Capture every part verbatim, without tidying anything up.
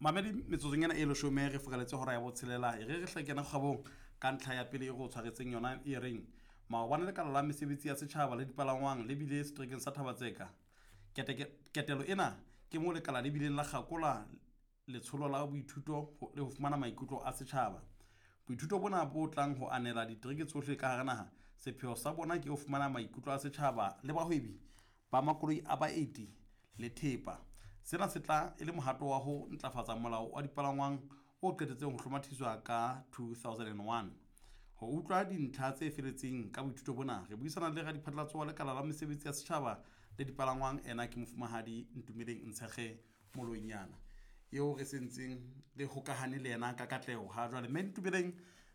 Mamedi, metsotsong ena e leshome re furaletse hora ya botshelela. E re re hle kena kgwebong ka ntlha ya pele e re o tshwaretseng yona e reng maobane lekala la mesebetsi ya setjhaba le dipalangwang le bile seterekeng sa Thaba-Tseka. Ketelo ena ke moo lekala le bileng la kgakola letsholo la boithuto le ho fumana maikutlo a setjhaba. Boithuto bona bo tlang ho anela ditereke tsohle ka hara naha, sepheo sa bona ke ho fumana maikutlo a setjhaba le bahwebi ba makoloi a baeti le thepa. Sena se tla e le mohato wa ho ntlafatsa molao wa dipalangwang o qetetseng ho hlomathiswa ka two thousand and one. Ho utlwa dintlha tse feletseng ka boithuto bona, re buisana le radiphatlalatso wa lekala la mesebetsi ya setjhaba le dipalangwang, ena ke mofumahadi Ntumeleng Ntshekge Moloinyana, eo re sentseng le hokahane le yena ka katleho ha jwale. Mme Ntumeleng,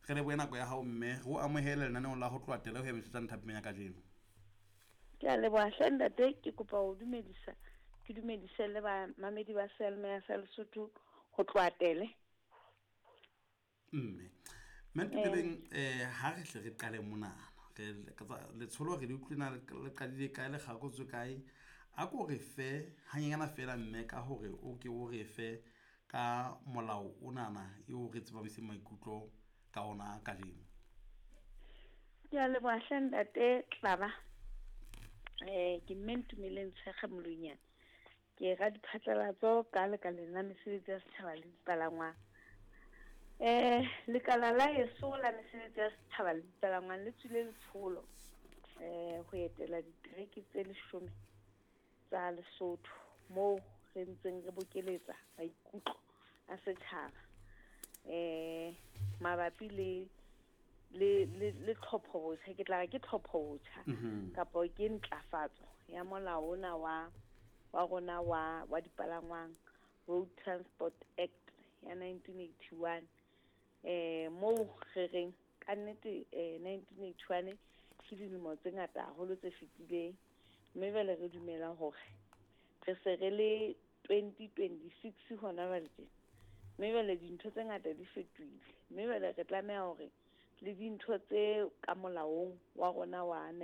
re lebohe nako ya hao mme re o amohele lenaneong la ho tloha tele ho ya Metsotso thapameng ya kajeno. Ke a leboha hle ntate, ke kopa ho dumedisa, ke dumedise le bamamedi ba Seyalemoya sa Lesotho ho tloha tele. Mme mme Ntumeleng, eh ha re hle re qale monana, re letsholo re le utlwile na le qadile kae, le kgakotswe kae? A ko re fe hanyenyana feela mme ka hore o ke o re fe ka molao onana eo re tsepamiseng maikutlo ka ona kajeno. Ke a leboha hle ntate Tlaba. Eh ke mme Ntumeleng Ntshekge Moloinyana, ke radiphatlalatso ka lekaleng la mesebetsi ya setjhaba le dipalangwang. Eh lekala la heso la mesebetsi ya setjhaba le dipalangwang le tswile letsholo eh ho etela ditereke tse leshome tsa Lesotho, moo re ntseng re bokeletsa maikutlo a setjhaba eh mabapi le le le le tlhopho botjha, ke tla re ke tlhopho botjha kapa ke ntlafatso ya molao ona wa wa rona wa wa dipalangwang, Road Transport Act ya nineteen eighty-one. Eh moo re reng ka nnete eh nineteen eighty-one ke dilemo tse ngata haholo tse fetileng, mme jwale re dumela hore re se re le twenty twenty-six hona jwale tjena, mme jwale dintho tse ngata di fetohile, mme jwale re tlameha hore le dintho tse ka molaong wa rona wa